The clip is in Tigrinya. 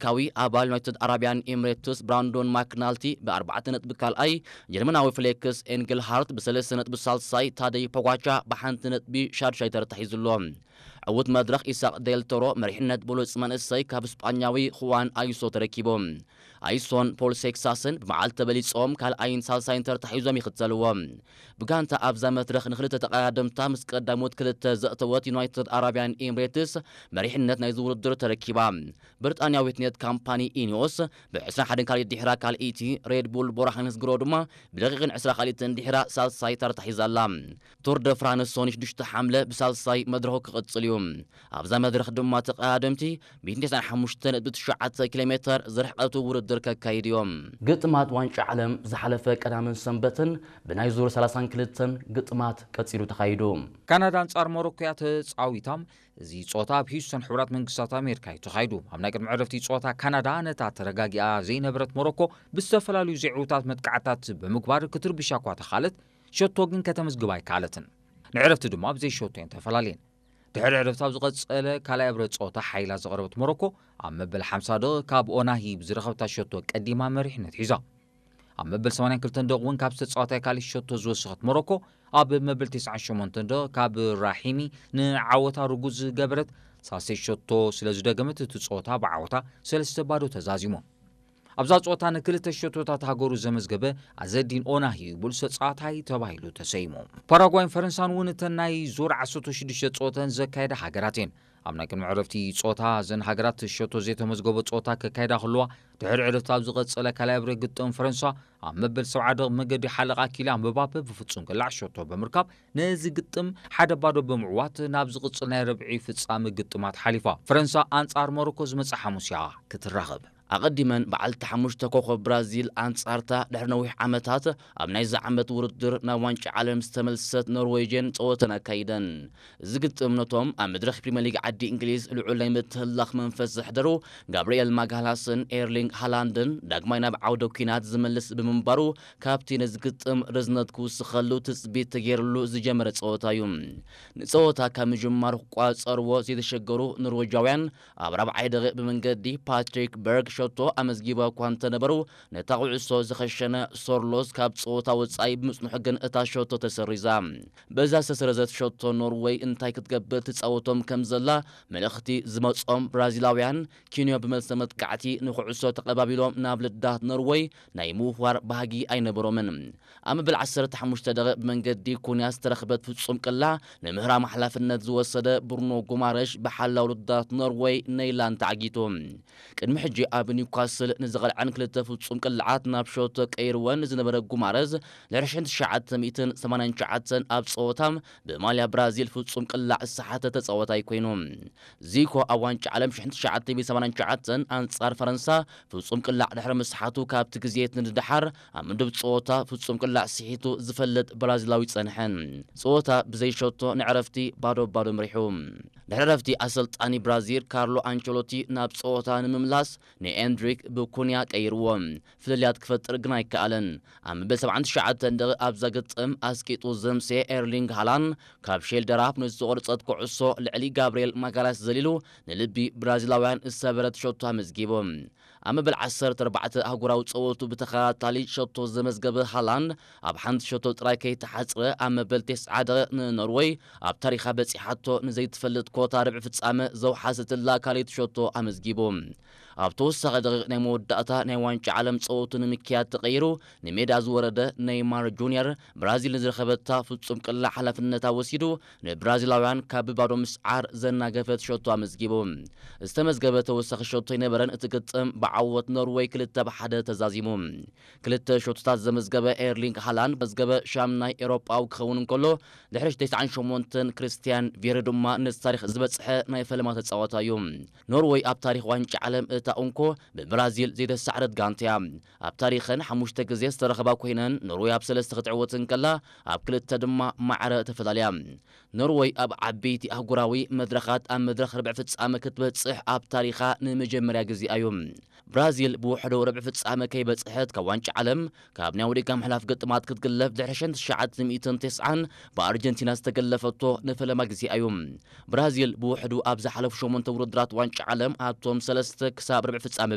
ኣሜሪካዊ ኣባል ዩናይትድ ኣረብያን ኤምሬትስ ብራንዶን ማክናልቲ ብኣርባዕተ ነጥቢ ካልኣይ፣ ጀርመናዊ ፍሌክስ ኤንግልሃርት ብሰለስተ ነጥቢ ሳልሳይ፣ ታደይ ፖጋቻ ብሓንቲ ነጥቢ ሻድሻይ ተረታሒዙ ኣሎ። ዕዉት መድረኽ ኢሳቕ ዴል ቶሮ መሪሕነት ብሉጽ መንእሰይ ካብ ስጳኛዊ ኹዋን ኣይሶ ተረኪቡ። ኣይሶን ፖል ሴክሳስን ብመዓልቲ ተበሊጾም ካልኣይን ሳልሳይን ተርታሒዞም ይኽተልዎ። ብጋንታ ኣብዛ መድረኽ ንክልተ ተቐዳደምታ ምስ ቀዳሞት ክልተ ዘእተወት ዩናይትድ ኣረብያን ኤምሬትስ መሪሕነት ናይዚ ውድድር ተረኪባ። ብሪጣንያዊት ኔት ካምፓኒ ኢኒዮስ ብ ዕስራን ሓደን ካልኢት ድሕራ ካልኢቲ፣ ሬድ ቡል ቦራሃንስ ግሮ ድማ ብደቂቕን ዕስራ ካልኢትን ድሕራ ሳልሳይ ተርታሒዛ ኣላ። ቱር ደ ፍራንስ ሶኒ ሽዱሽተ ሓምለ ብሳልሳይ መድረኹ ክቕጽል እዩ። ኣብዛ መድረኽ ድማ ተቐዳደምቲ ሚእትን ተስዓን ሓሙሽተ ነጥቢ ትሽዓተ ኪሎ ሜተር ዝርሕቐቱ ውድድር ከካይድ እዮም። ግጥማት ዋንጫ ዓለም ዝሓለፈ ቀዳምን ሰንበትን ብናይ ዙር ሰላሳን ክልተን ግጥማት ቀጺሉ ተኻይዱ። ካናዳ ኣንጻር ሞሮኮ እያ ተጻዊታ። እዚ ጸወታ ኣብ ሂውስተን ሕቡራት መንግስታት ኣሜሪካ እዩ ተኻይዱ። ኣብ ናይ ቅድሚ ዕረፍቲ ጸወታ ካናዳ ነታ ተረጋጊኣ ዘይነበረት ሞሮኮ ብዝተፈላለዩ ዘይዕዉታት መጥቃዕታት ብምግባር ክትርብሻ እኳ ተኻለት፣ ሸቶ ግን ከተመዝግብ ኣይከኣለትን። ንዕረፍቲ ድማ ብዘይ ሸቶ እየን ተፈላለየን። ድሕሪ ዕረፍቲ ኣብ ዝቐጸለ ካልኣይ ኣብረ ጸወታ ሓይላ ዘቕረበት ሞሮኮ ኣብ መበል ሓምሳ ደቂቕ ካብ ኦናሂ ብዝረኸብታ ሸቶ ቀዲማ መሪሕነት ሒዛ። ኣብ መበል ሰማንያን ክልተን ደቂቕ እውን ካብ ዝተጻወታይ ካልእ ሸቶ ዝወሰኸት ሞሮኮ ኣብ መበል ተስዓን ሸሞንተን ደቂቕ ካብ ራሒሚ ንዓወታ ርጉዝ ዝገበረት ሳልሰይ ሸቶ ስለ ዝደገመት እቲ ጸወታ ብዓወታ ሰለስተ ባዶ ተዛዚሙ። ኣብዛ ጸወታ ንክልተ ሸቶታት ሃገሩ ዘመዝገበ ኣዘዲን ኦናሂ ብሉጽ ተጻዋታይ ተባሂሉ ተሰይሙ። ፓራጓይን ፈረንሳን እውን እተን ናይ ዙር ዓሰርተ ሽዱሽተ ጸወተን ዘካየዳ ሃገራት እየን። ኣብ ናይ ቅድሚ ዕረፍቲ ጸወታ እዘን ሃገራት ሸቶ ዘይተመዝገቦ ጸወታ ከካይዳ ከለዋ ድሕሪ ዕረፍቲ ኣብ ዝቐጸለ ካልኣይ ኣብረ ግጥም ፈረንሳ ኣብ መበል ሰብዓ ደቕ መገዲ ሓለቓ ኪልያን ምባፔ ብፍጹም ቅላዕ ሸቶ ብምርካብ ነዚ ግጥም ሓደ ባዶ ብምዕዋት ናብ ዝቕጽል ናይ ረብዒ ፍጻመ ግጥማት ሓሊፋ። ፈረንሳ ኣንጻር ሞሮኮ ዝመጽእ ሓሙስ እያ ክትራኸብ። ኣቐዲመን በዓልቲ ሓሙሽተ ኮኸብ ብራዚል ኣንጻርታ ድሕሪ ነዊሕ ዓመታት ኣብ ናይዚ ዓመት ውድድር ናብ ዋንጫ ዓለም ዝተመልሰት ኖርዌጅን ጸወተን ኣካይደን። እዚ ግጥም ነቶም ኣብ መድረኽ ፕሪምየር ሊግ ዓዲ እንግሊዝ ልዑል ናይ ምትህላኽ መንፈስ ዘሕደሩ ጋብርኤል ማጋላስን ኤርሊንግ ሃላንድን ዳግማይ ናብ ዓውደ ኲናት ዝመልስ ብምንባሩ ካብቲ ነዚ ግጥም ርዝነት ክውስኸሉ ትጽቢት ተገይርሉ ዝጀመረ ጸወታ እዩ። ንጸወታ ካብ ምጅማሩ ክቋጸርዎ ዘይተሸገሩ ኖርዌጃውያን ኣብ ራብዓይ ደቂቕ ብመንገዲ ፓትሪክ በርግ ሸቶ ኣመዝጊባ እኳ እንተነበሩ፣ ነታ ኩዕሶ ዝኸሸነ ሶርሎስ ካብ ጸወታ ወጻኢ ብምጽንሑ ግን እታ ሸቶ ተሰሪዛ። በዛ ዝተሰረዘት ሸቶ ኖርወይ እንታይ ክትገብር ትጻወቶም ከም ዘላ መልእኽቲ ዝመጾም ብራዚላውያን ኪንዮ ብመልሰ መጥቃዕቲ ንኩዕሶ ተቐባቢሎም ናብ ልዳት ኖርወይ ናይ ምውፍዋር ባህጊ ኣይነበሮምን። ኣብ መበል ዓሰርተ ሓሙሽተ ደቂቕ ብመንገዲ ኩንያ ዝተረኽበት ፍጹም ቅላዕ ንምህራም ሓላፍነት ዝወሰደ ብሩኖ ጉማረሽ ብሓላው ልዳት ኖርወይ ነይላን ተዓጊቱ። ቅድሚ ሕጂ ኣብ ኒውካስል ንዝቐልዐን ክልተ ፍጹም ቅላዓት ናብ ሸቶ ቀይርወን ዝነበረ ጉማረዝ ድሕሪ ሽሕን ትሽዓተ ሚእትን ሰማንያን ትሽዓተን ኣብ ጸወታ ብማልያ ብራዚል ፍጹም ቅላዕ ዝሰሓተ ተጻዋታይ ኮይኑ። ዚኮ ኣብ ዋንጫ ዓለም ሽሕን ትሽዓተ ሚእትን ሰማንያን ትሽዓተን ኣንጻር ፈረንሳ ፍጹም ቅላዕ ድሕሪ ምስሓቱ ካብቲ ግዜ ንድሓር ኣብ ምድብ ጸወታ ፍጹም ቅላዕ ስሒቱ ዝፈልጥ ብራዚላዊ ጸንሐ። ጸወታ ብዘይ ሸቶ ንዕረፍቲ ባዶ ባዶ ምሪሑ። ድሕሪ ዕረፍቲ ኣሰልጣኒ ብራዚል ካርሎ ኣንቸሎቲ ናብ ጸወታ ንምምላስ ንኤንድሪክ ብኩንያ ቀይርዎ። ፍልልያት ክፈጥር ግን ኣይከኣለን። ኣብ መበል ሰብዓን ትሽዓተን ደቂቕ ኣብዛ ግጥም ኣስቂጡ ዘምሴ ኤርሊንግ ሃላን ካብ ሼልደራፕ ንዝተቖርጸት ኩዕሶ ልዕሊ ጋብርኤል ማጋላስ ዘሊሉ ንልቢ ብራዚላውያን ዝሰበረት ሸቶ ኣመዝጊቡ። ኣብ መበል ዓሰርተ ኣርባዕተ ኣህጉራዊ ጸወቱ ብተኸታታሊ ሸቶ ዘመዝገበ ሃላንድ ኣብ ሓንቲ ሸቶ ጥራይ ከይተሓጽረ ኣብ መበል ተስዓ ደቂቕ ንኖርወይ ኣብ ታሪኻ በጺሓቶ ንዘይትፈልጥ ኮታ ርብዒ ፍጻመ ዘውሓሰትላ ካልኣይቲ ሸቶ ኣመዝጊቡ። ኣብ ተወሳኺ ደቂቕ ናይ መወዳእታ ናይ ዋንጫ ዓለም ጸወቱ ንምክያድ ተቐይሩ ንሜዳ ዝወረደ ኔይማር ጁንየር ብራዚል ንዝረኸበታ ፍጹም ቅላዕ ሓላፍነታ ወሲዱ ንብራዚላውያን ካብ ብባዶ ምስዓር ዘናገፈት ሸቶ ኣመዝጊቡ። ዝተመዝገበ ተወሳኺ ሸቶ ኣይነበረን። እቲ ግጥም ብዓወት ኖርወይ ክልተ ብ ሓደ ተዛዚሙ። ክልተ ሸቶታት ዘመዝገበ ኤርሊንግ ሃላንድ መዝገበ ሻምናይ ኤውሮጳዊ ክኸውን እንከሎ ድሕሪ ተስዓን ሸሞንተን ክርስቲያን ቪየሪ ድማ ነዚ ታሪኽ ዝበጽሐ ናይ ፈለማ ተጻዋታይ እዩ። ኖርወይ ኣብ ታሪኽ ዋንጫ ዓለም እታ እንኮ ብብራዚል ዘይተሳዕረት ጋንታ እያ። ኣብ ታሪኸን ሓሙሽተ ግዜ ዝተረኸባ ኮይነን ኖርወይ ኣብ ሰለስተ ክትዕወት እንከላ ኣብ ክልተ ድማ ማዕረ ተፈላልያ። ኖርወይ ኣብ ዓበይቲ ኣህጉራዊ መድረኻት ኣብ መድረኽ ርብዒ ፍጻመ ክትበጽሕ ኣብ ታሪኻ ንመጀመርያ ግዜ እዩ። ብራዚል ብውሕዱ ርብዒ ፍጻመ ከይበጽሐት ካብ ዋንጫ ዓለም ካብ ናይ ወዲጋ ምሕላፍ ግጥማት ክትግለፍ ድሕሪ ሽሕን ትሽዓተ ሚእትን ተስዓን ብኣርጀንቲና ዝተገለፈቶ ንፈለማ ግዜ እዩ። ብራዚል ብውሕዱ ኣብ ዝሓለፉ ሸሞንተ ውድድራት ዋንጫ ዓለም ኣብቶም ሰለስተ ክሳብ ርብዒ ፍጻመ